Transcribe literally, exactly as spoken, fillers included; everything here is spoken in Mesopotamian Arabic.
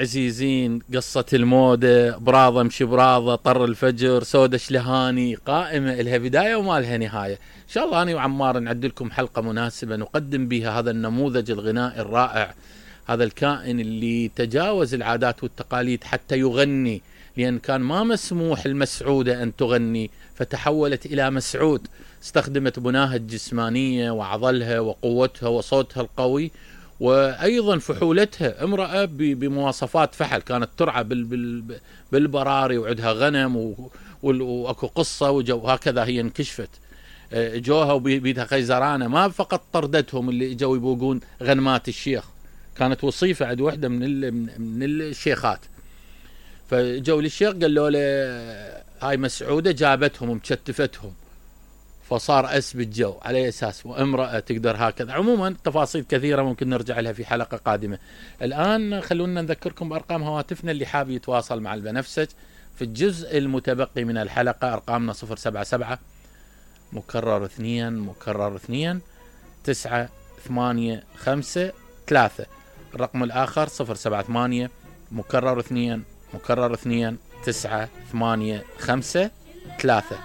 عزيزين، قصة المودة، براضة مشي براضة، طر الفجر، سودة شلهاني، قائمة إلها بداية وما لها نهاية. إن شاء الله أنا وعمار نعد لكم حلقة مناسبة نقدم بها هذا النموذج الغنائي الرائع، هذا الكائن اللي تجاوز العادات والتقاليد حتى يغني، لأن كان ما مسموح المسعودة أن تغني فتحولت إلى مسعود. استخدمت بناها الجسمانية وعضلها وقوتها وصوتها القوي، وأيضا فحولتها، امرأة بمواصفات فحل، كانت ترعى بالبراري وعندها غنم وأكو قصة وجو هكذا. هي انكشفت جوها وبيدها خيزرانة، ما فقط طردتهم اللي جو يبوقون غنمات الشيخ، كانت وصيفة عند وحدة من من الشيخات، فجو للشيخ قالوا له هاي مسعودة، جابتهم ومشتفتهم، فصار أسب الجو على أساس وامرأة تقدر هكذا. عموما تفاصيل كثيرة ممكن نرجع لها في حلقة قادمة. الآن خلونا نذكركم بأرقام هواتفنا اللي حاب يتواصل مع البنفسج في الجزء المتبقي من الحلقة. أرقامنا صفر سبعة سبعة مكرر اثنين مكرر اثنين تسعة ثمانية خمسة ثلاثة. الرقم الآخر صفر سبعة ثمانية مكرر اثنين مكرر اثنين تسعة ثمانية خمسة ثلاثة.